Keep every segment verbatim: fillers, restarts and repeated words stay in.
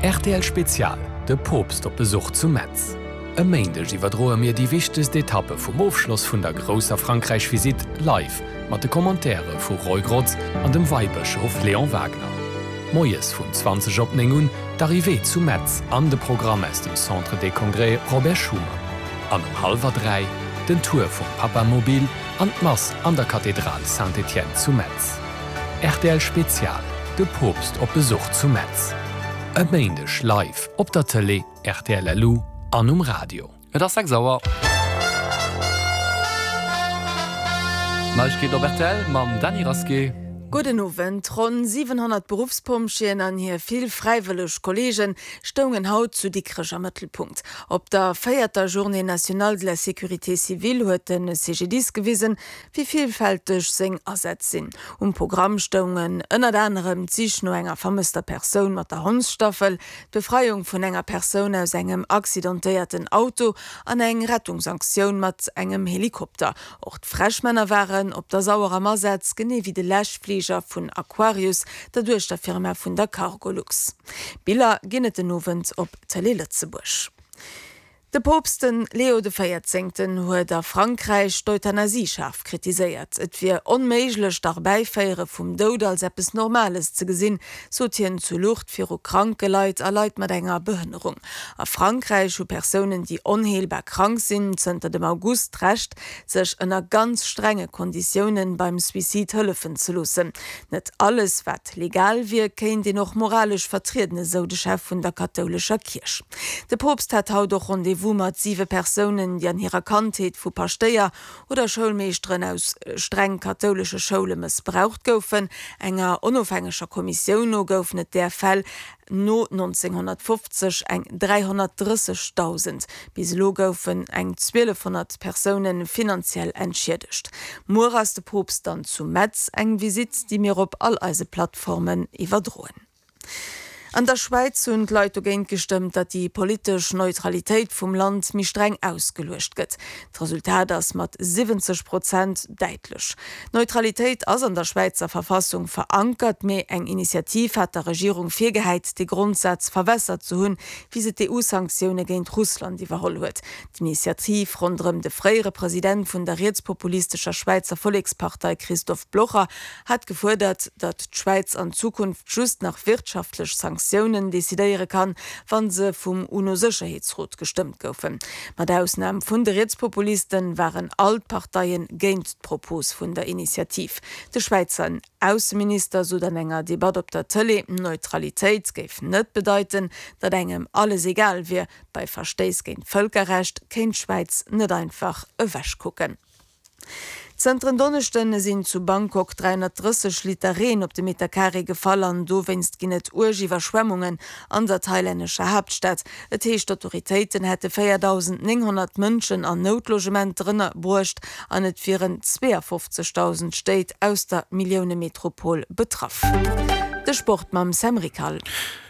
Rtl Spezial, De Poopst op Besuch zu Metz. E Méindeg iwwerdroe mir déi wichtegst Etappe vum Ofschloss vun der grousser Frankräich-Visitt live mat de Commentaire vu Roy Grotz an dem Weibëschof Léon Wagner. Moies vun zwanzeg op néng un d'Arrivée zu Metz an de Programm aus dem Centre des Congrès Robert Schuman. An um hallwer dräi den Tour vum Papamobil an d'Mass an der Kathedral Saint-Étienne zu Metz. Rtl Spezial, De Poopst op Besuch zu Metz. E Méindeg live op der Tëlee, rtl LU an um Radio. Et ass sechs Auer. Neiegkeeten op rtl mam Dany Rasqué. Gudden Owend. Ronn siwenhonnert Beruffspompjeeën an hir vill fräiwëlleg Kolleege stoungen haut zu Dikrech am Mëttelpunkt. Op der véierter Journée nationale de la sécurité civile huet de C G D I S gewisen, wéi villfälteg seng Asätz sinn. Um Programm stoungen ënnert anerem d'Sich no enger vermësster Persoun mat der Hondsstaffel, d'Befreiung vun enger Persoun aus engem accidentéierten Auto an eng Rettungsaktioun mat engem Helikopter. Och d'Fräschmänner waren op der Sauer am Asaz, genee wéi de Läschfliger vun Aquarius, der Duechterfirma vun der Cargolux. Biller ginn et den Owend op Télé Lëtzebuerg. De Poopst de Leo de Véierzéngten huet a Frankräich d'Euthanasie schaarf kritiséiert. Et wier onméiglech, d'Erbäiféiere vum Doud als eppes Normales ze gesinn, sot hien zu Lourdes viru kranke Leit a Leit mat enger Behënnerung. A Frankräich hu Persounen, déi onheelbar krank sinn, zënter dem August d'Recht, sech ënner ganz strenge Konditioune beim Suicide hëllefen ze loossen. Net alles, wat legal wier, kéint een och moralesch vertrieden, esou de Chef vun der kathoulescher Kierch. De Poopst hat haut och Rendez-vous mat siwe Persounen, déi an hirer Kandheet vu Paschtéier oder Schoulmeeschteren aus streng kathoulesche Schoule mëssbraucht goufen. Enger onofhängeger Kommissioun no goufen et där Fäll no nonzénghonnertfofzeg eng dräihonnertdrëssegdausend. Bis elo goufen eng zwielefhonnert Persoune finanziell entschiedegt. Muer ass de Poopst dann zu Metz, eng Visitt, déi mir op all eise Plattformen iwwerdroen. An der Schwäiz hunn d'Leit dogéint gestëmmt, datt déi politesch Neutralitéit vum Land méi streng ausgeluecht gëtt. D'Resultat ass mat siwwenzeg Prozent däitlech. D'Neutralitéit ass an der Schwäizer Verfassung verankert, mee eng Initiativ hat der Regierung virgehäit, dee Grondsaz verwässert ze hunn, wéi se d'E U-Sanktioune géint Russland iwwerholl huet. D'Initiativ ronderëm de fréiere President vun der rietspopulistescher Schwäizer Vollekspartei Christoph Blocher hat gefuerdert, datt d'Schwäiz an Zukunft just nach wirtschaftlech Sanktiounen decidéiere kann, wa se vum UNO-Sécherheetsrot gestëmmt goufen. Mat Ausnam vun de Rietspopulisten waren all d'Parteie géint d'Propos vun der Initiativ. De Schwäizer Ausseminister sot an enger Debatt op der Tëlee, Neutralitéit géif net bedeiten, datt engem alles egal wier. Bei Verstéiss géint d'Vëlkerrecht kéint d'Schwäiz net einfach ewechkucken. Zënter en Donneschden sinn zu Bangkok dräihonnertdrësseg Liter Reen op de Meterkaree gefall an dowéinst ginn et uerg Iwwerschwemmungen an der thailännescher Haaptstad. Et heescht, d'Autoritéiten hätte véierdausendnénghonnert Mënschen an Noutlogementer ënnerbruecht an et wieren zweeënfofzegdausend Stéit aus der Milliounemetropol betraff. De Sport mam Sam Rickal.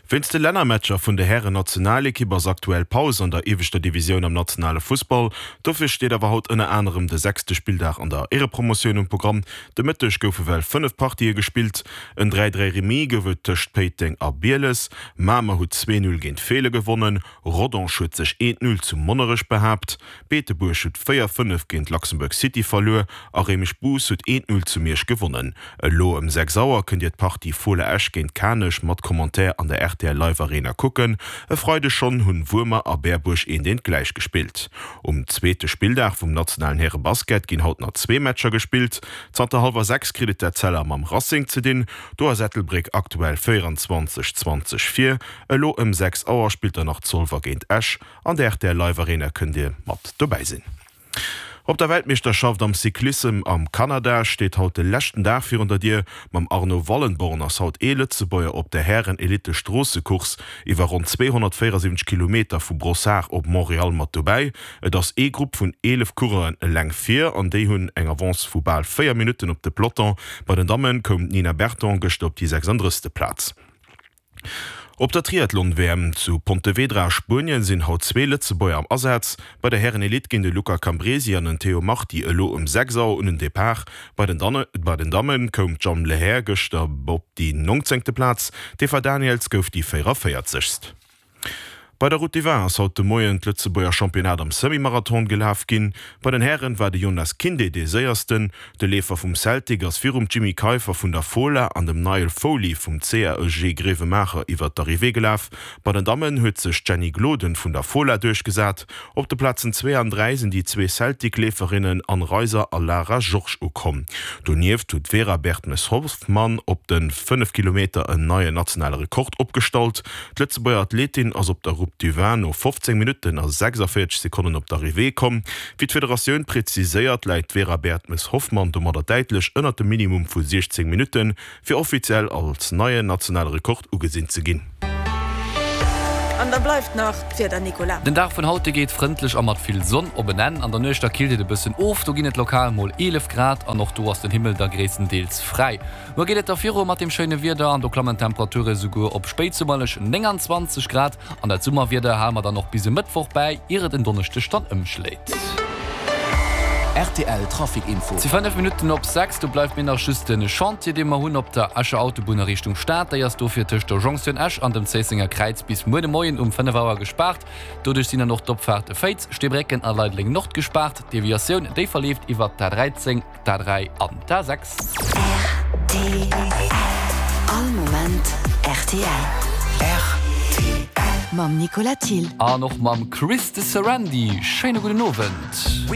Wéinst de Lännermatcher vun der Hären-Nationalekipp ass aktuell Paus an der ieweschter Divisioun am nationale Fussball. Dofir steet awer haut ënner anerem de sechste Spilldag an der Éierepromotioun um Programm. De Mëtteg goufe well fënnef Partië gespillt. En dräi-dräi Remis gouf et tëscht Péiteng a Bieles. Mamer huet zwee null géint Feelen gewonnen. Rodange huet sech eent null zu Monnerech behaapt. Beetebuerg huet véier fënnef géint Luxembourg City verluer a Réimech-Bous huet eent null zu Miersch gewonnen. Elo ëm sechs Auer kënnt Dir d'Partie Fola Esch géint Kanech mat Commentaire an der R T L Live Arena kucken. E Freideg schonn hunn Wuermer a Berbuerg eent eent gläich gespillt. Um zweete Spilldag vum nationalen Härebasket ginn haut nach zwee Matcher gespillt. Zanter hallwer sechs kritt et d'Etzella mam Racing ze dinn. Do ass Ettelbréck aktuell véieranzwanzeg, zwanzeg vir. Elo ëm sechs Auer spillt dann nach Zolwer géint Esch. An der R T L Live Arena kënnt Dir mat dobäi sinn. Op der Weltmeeschterschaft am Cyclissem am Kanada steet haut de leschten Dag virun der Dier. Mam Arno Wallenborn ass haut ee Lëtzebuerger op der Hären-Elite-Stroossecourse iwwer ronn zweehonnertvéierasiwwenzeg Kilometer vu Brossard op Montréal mat dobäi. Et ass ee Grupp vun eelef Coureuren eleng vir an déi hunn eng Avance vu bal véier Minutten op de Peloton. Bei den Damme koum d'Nina Berton gëschter op déi sechsandrëssegste Plaz. Op der Triathlon-W M zu Pontevedra a Spuenien sinn haut zwee Lëtzebuerger am Asaz. Bei der Hären-Elite ginn de Luca Cambresi an den Théo Marti elo ëm sechs Auer un den Depart. Bei den bei den Damme koum d'Jeanne Lehair gëschter op déi nongzéngte Plaz, d'Eva Daniëls gouf déi véierandvéierzegst. Bei der Route du Vin ass haut de Moien d'Lëtzebuerger Championnat am Semi-Marathon gelaf ginn. Bei den Hären war de Jonas Kinde dee Séiersten. De Leefer vum Celtic ass virum Jimmy Keiffer vun der Fola an dem Niall Foley vum C A E G Grevenmacher iwwer d'Arrivée gelaf. Bei den Dammen huet sech d'Jenny Gloden vun der Fola duerchgesat. Op de Plazen zwee an dräi sinn déi zwee Celtic-Leeferinnen Anne Reiser a Lara Georges ukomm. Donieft huet d'Vera Bertmes-Hoffmann op de fënnef Kilometer en neien nationale Rekord opgestallt. D'Lëtzebuerger Athletin ass op der Route du Vin no fofzéng Minutten a sechsavéierzeg Sekonnen op d'Arrivée komm. Wéi d'Federatioun präziséiert, läit d'Vera Bertmes-Hoffmann domadder däitlech ënnert dem Minimum vu siechzéng Minutten, fir offiziell als neien nationale Rekord ugesinn ze ginn. An da bleift nach d'Wieder, Nicolas. Den Dag vun haut geet frëndlech a mat vill Sonn op en Enn. An der Nuecht da killt et e bëssen of, do ginn et lokal mol eelef Grad an och do ass den Himmel da gréisstendeels fräi. Muer geet et da viru mat dem schéine Wieder an do klammen d'Temperature souguer op spéitsummerlech nénganzwanzeg Grad. An dat Summerwieder hale mer dann och bis e Mëttwoch bäi, ier et en Donneschdeg dann ëmschléit. R T L Trafic Info. Et si fënnef Minutten op sechs, do bleift mir nach just de Chantier, dee mer hunn op der Escher Autobunn a Richtung Stad. Déi ass dofir tëscht der Jonktioun Esch an dem Zéissenger Kräiz bis muer de Moien um fënnef Auer gespaart. Doduerch sinn dann och d'Opfaarte Féiz, Steebrécken a Leideleng Nord gespaart. D'Deviatioun, déi verleeft iwwert d'A dräizéng, d'A dräi an d'A sechs R T L. All Moment R T L. R T L. Mam Nicolas Thill. An och mam Chris de Sarandy. Schéine gudden Owend.